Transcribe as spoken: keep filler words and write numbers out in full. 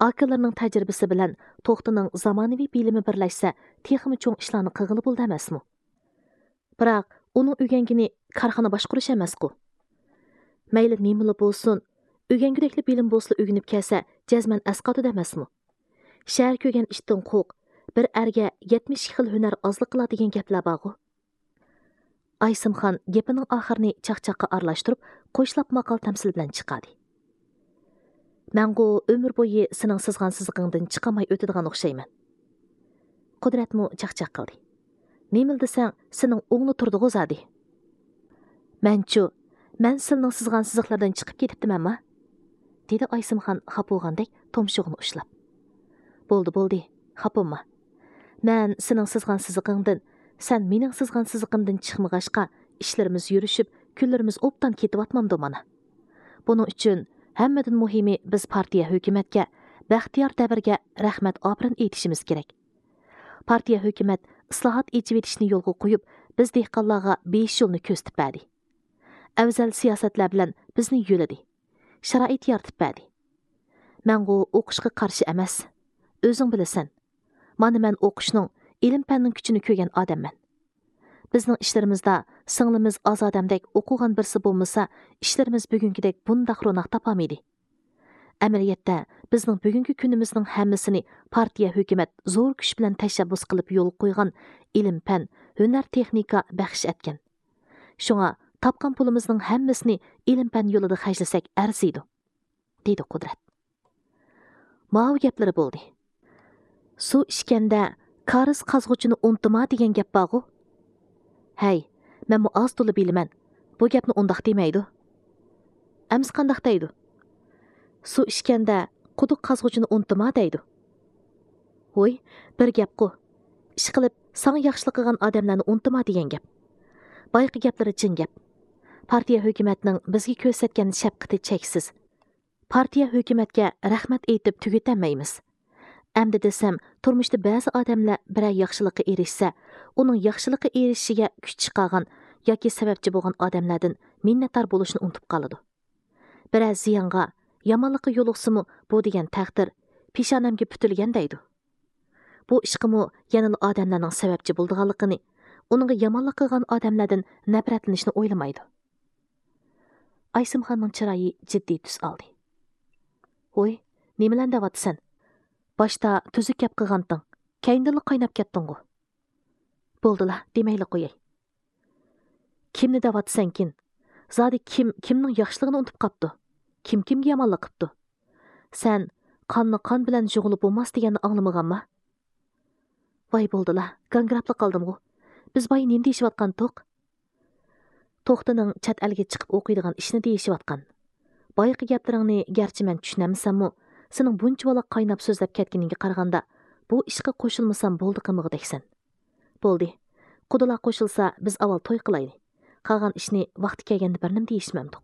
ئاكىلىرىنىڭ تەجرىبىسى بىلەن توختىنىڭ زامانىۋى بىلىمى بىرلەشسە، تېخىمۇ چوڭ ئىشلارنى قىلغىلى بولىدۇ ئەمەسمۇ؟ بىراق ئۇنىڭ ئۆگەنگىنى كارخانا باشقۇرۇش ئەمەسقۇ؟ مەيلى نېمىلا بولسۇن، ئۆگەنگۈدەكلا بىلىم بولسىلا ئۆگىنىپ كەلسە، جەزمەن ئەسقاتىدۇ ئەمەسمۇ؟ شەھەر كۆرگەن ئىتتىن قورق، بىر ئەرگە يەتمىش ئىككى خىل ھۈنەر ئازلىق قىلار دېگەن گەپلەر بارغۇ؟ ئايسىمخان گېپىنىڭ ئاخىرىنى چاقچاققا ئارىلاشتۇرۇپ، قوشلاپ ماقال تەمسىل بىلەن چىقاردى. مەنغۇ ئۆمۈر بويى سېنىڭ سىزغان سىزىقىڭدىن چىقالماي ئۆتىدىغان ئوخشايمەن. قۇدرەتمۇ چاقچاق قىلدى. نېمىلا دېسەڭ، سېنىڭ ئوڭلا تۇردىغۇ زادى. مەنچۇ، مەن سىلىنىڭ سىزغان سىزىقلىرىدىن چىقىپ كېتىپتىمەنما؟ دېدى ئايسىمخان خاپا بولغاندەك تۇمشۇغىنى ئۇشلاپ. بولدى، بولدى، خاپا بولما. مەن سېنىڭ سىزغان سىزىقىڭدىن، سەن مېنىڭ سىزغان سىزىقىمدىن چىقمىغاچقا، ئىشلىرىمىز يۈرۈشۈپ، كۈنلىرىمىز ئوبدان كېتىۋاتمامدۇ مانا؟ بۇنىڭ ئۈچۈن ھەممىدىن مۇھىمى بىز پارتىيە، ھۆكۈمەتكە، بەختىيار دەۋرگە رەھمەت، ئاپىرىن ئېيتىشىمىز كېرەك. پارتىيە، ھۆكۈمەت ئىسلاھات، ئېچىۋېتىشنى يولغا قويۇپ، بىز دېھقانلارغا بېيىش يولىنى كۆرسىتىپ بەردى. ئەۋزەل سىياسەتلەر بىلەن بىزنى يۆلىدى. شارائىت يارىتىپ بەردى. مەنغۇ ئوقۇشقا قارشى ئەمەس. ئۆزۈڭ بىلىسەن. مانا مەن ئوقۇشنىڭ، ئىلىم-پەننىڭ كۈچىنى كۆرگەن ئادەممەن. بىزنىڭ ئىشلىرىمىزدا سىڭلىمىز ئازادەمدەك ئوقۇغان بىرسى بولمىسا، ئىشلىرىمىز بۈگۈنكىدەك بۇنداق روناق تاپالمىدى. ئەمەلىيەتتە، بىزنىڭ بۈگۈنكى كۈنىمىزنىڭ ھەممىسىنى پارتىيە، ھۆكۈمەت زور كۈچ بىلەن تەشەببۇس قىلىپ يولغا قويغان ئىلىم-پەن، ھۈنەر-تېخنىكا بەخش ئەتكەن. شۇڭا تاپقان پۇلىمىزنىڭ ھەممىسىنى ئىلىم-پەن يولىدا خەجلىسەك ئەرزىيدۇ، دېدى قۇدرەت. ماۋۇ گەپلىرى بولدى. سۇ ئىچكەندە كارىز قازغۇچىنى ئۇنتۇما دېگەن گەپ بارغۇ؟ ھەي، مەنمۇ ئاز تولا بىلىمەن. بۇ گەپنى ئۇنداق دېمەيدۇ. ئەمسە قانداق دەيدۇ؟ سۇ ئىچكەندە قۇدۇق قازغۇچىنى ئۇنتۇما دەيدۇ. ۋوي، بىر گەپقۇ. ئىشقىلىپ، ساڭا ياخشىلىق قىلغان ئادەملەرنى ئۇنتۇما دېگەن گەپ. بايىقى گەپلىرى چىن گەپ. پارتىيە، ھۆكۈمەتنىڭ بىزگە كۆرسەتكەن شەپقىتى چەكسىز. پارتىيە، ھۆكۈمەتكە رەھمەت ئېيتىپ تۈگىتەلمەيمىز. ئەمدى دېسەم، تۇرمۇشتا بەزى ئادەملەر بىرەر ياخشىلىققا ئېرىشسە، ئۇنىڭ ياخشىلىققا ئېرىشىشىگە كۈچ چىقارغان ياكى سەۋەبچى بولغان ئادەملەردىن مىننەتدار بولۇشنى ئۇنتۇپ قالىدۇ. بىرەر زىيانغا، يامانلىققا يولۇقسىمۇ، بۇ دېگەن تەقدىر، پېشانەمگە پۈتۈلگەن دەيدۇ. بۇ ئىشقىمۇ يەنىلا ئادەملەرنىڭ سەۋەبچى بولىدىغانلىقىنى، ئۇنىڭغا يامانلىق قىلغان ئادەملەردىن نەپرەتلىنىشنى ئويلىمايدۇ. ئايسىمخاننىڭ چىرايى جىددىي تۈس ئالدى. ھوي، نېمىلەرنى دەۋاتىسەن؟ باشتا تۈزۈك گەپ قىلغانتىڭ، كەينىدىنلا قايناپ كەتتىڭغۇ. بولدىلا، دېمەيلا قوياي. كىمنى دەۋاتىسەنكىن؟ زادى كىم كىمنىڭ ياخشىلىقىنى ئۇنتۇپ قاپتۇ؟ كىم كىمگە يامانلىق قىپتۇ؟ سەن قاننى قان بىلەن يۇغىلى بولماس دېگەننى ئاڭلىمىغانما؟ ۋاي بولدىلا، گاڭگىراپلا قالدىمغۇ. بىز بايا نېمە دېيىشىۋاتقانتۇق؟ توختىنىڭ چەت ئەلگە چىقىپ ئوقۇيدىغان ئىشنى دېيىشىۋاتقان. بايىقى گەپلىرىڭنى گەرچە مەن چۈشىنەلمىسەممۇ، سېنىڭ بۇنچىۋالا قايناپ سۆزلەپ كەتكىنىڭگە قارىغاندا، بۇ ئىشقا قوشۇلمىسام بولدى قىلمىغۇدەكسەن. بولدى. قۇدىلار قوشۇلسا، بىز ئاۋۋال توي قىلايلى. قالغان ئىشنى ۋاقتى كەلگەندە بىر نېمە دېيىشمەمدۇق.